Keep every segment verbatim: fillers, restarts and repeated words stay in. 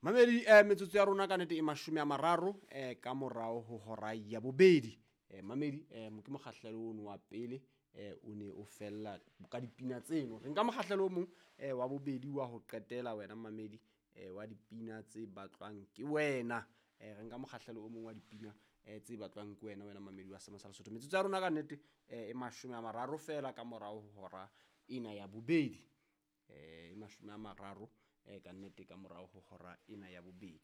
Mamedi eh metsotso ya rona ka nete e mashome a mararo eh ka morao ho hora ya bobedi. Eh mamedi eh ke mokgahlelo ono wa pele eh o ne o fella ka dipina tseno. Re nka mokgahlelo o mong eh wa bobedi wa ho qetela wena mamedi eh wa dipina tse batlwang ke wena. Eh re nka mokgahlelo o mong wa dipina eh tse batlwang ke wena wena mamedi wa Seema sa Lesotho. Metsotso ya rona ka nnete eh e mashome a mararo fela ka morao ho hora ena ya bobedi. Eh e mashome a mararo eh ka nnete ka morao ho hora ena ya bobedi.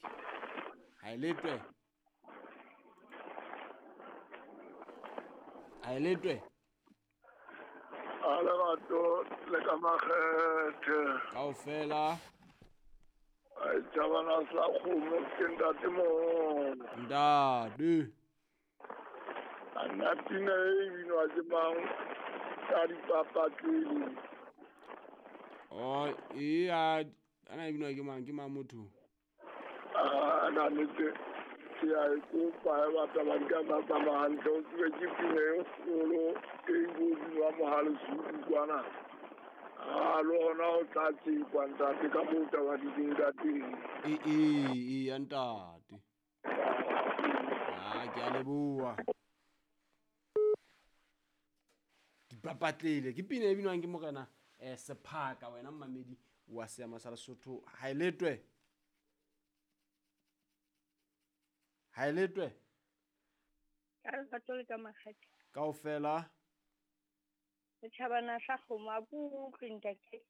Ha e letwe. Ha e letwe. A lerato le ka makgethe. Kaofela. Ai tjabana sa kgomo ke ntate moholo. Ntate. A nna pina e binwa ke mang ka dipapatleng? Oh, e a ana e binwa ke mang, ke mang motho? Ah, na nnete ke a e kopa e batla ba di ka tsa tsamaya hantle, o tsebe ke pina e kgolo e binwa Mohale Zulu kwana. Ah, le hona ho tla tsekwa ntate ka moo taba di leng ka teng. E e e ya ntate. Ah, ke a leboha. Dipapatlele ke pina e binwang ke morena eh Sephaka wena mmamedi wa Seema sa Lesotho. Ha e letwe. Ha e letwe. Ka lerato le ka makgethe. Kaofela. Setjhabana sa kgomo a kutlwe ntate.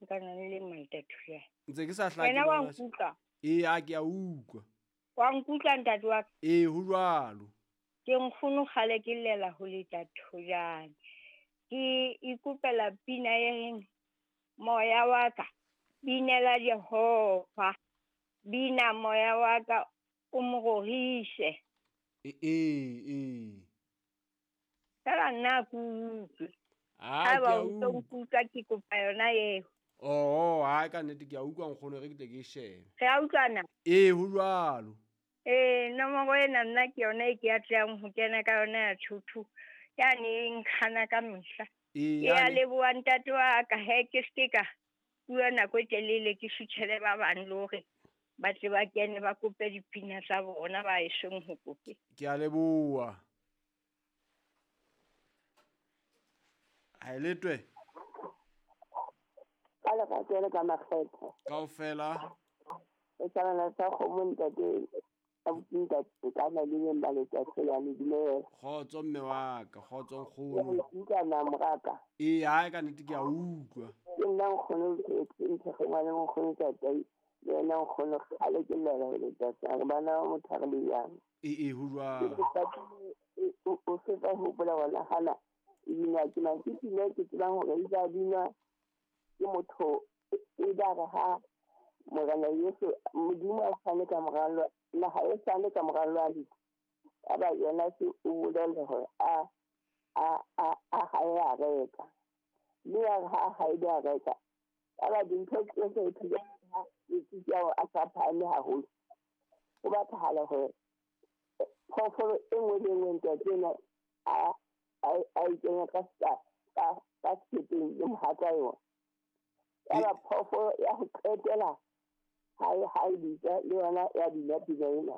Nka na le mantate. Ntse ke sa hlake. Wena wa nkutlwa? Ee, a ke a utlwa. Wa nkutlwa ntate wa ka? Ee, ho jwalo. Ke nkgono kgale ke llela ho leta thojane. Ke ikopela pina e reng moya wa ka binela Jehova, bina moya wa ka o mo rorise. Ee, ee. Fela nna ke utlwe. Ah, Ha ke ba a o tlo utlwa. nkutlwa ke kopa yona eo. Oh, ha ka nnete ke a utlwa nkgono, re ke tle ke e shebe. Re a utlwana? Ee, ho jwalo. Ee, nomoro ena nna ke yona e ke atlehang ho kena ka yona ya thuthu. Yane e nkgana ka mehla. Ee, Ke a yane. leboha ntate wa ka, he ke se ka bua nako e telele ke sutjhele ba bang le hore ba tle ba kene ba kope dipina tsa bona ba esong ho kope. Ke a leboha. Ha e letwe. Ka lerato le ka makgethe. Kaofela. Setjhabana sa kgomo ntate, abuti ntate ka na le beng ba letsatsi la le dumela. Kgotso mme wa ka, kgotso nkgono. Ke utlwa na moraka. Ee, ha ka nnete ke a utlwa. Ke nna nkgono ke ntse ke ngwana nkgono ntate, le yena nkgono kgale ke llela ho letsatsi, a re bana ba motho a re le jang. Ee, ee, ho jwalo. O, o fetsa ho hopola hona hana e binwa ke mang? Ke pina e ke tsebang hore e tla binwa ke motho e ba re ha Morena Yesu Modimo a fane ka moralo, naha e fane ka moralo wa lefu. Ya ba yona se o bolelle hore a, a, a, a hae a reka. Mme ya re ha a hae a reka, ya ba dintho tsohle ho thwe ha letsatsi ao a sa phahame haholo. Ho batlahala hore phoofolo e nngwe le e nngwe ntate ena a, a, a e kenya ka sa-, ka, ka sekepeng le mohatsa yona. Ya ba phoofolo ya ho qetela ha e, ha e bitsa le yona ya bina pina ena.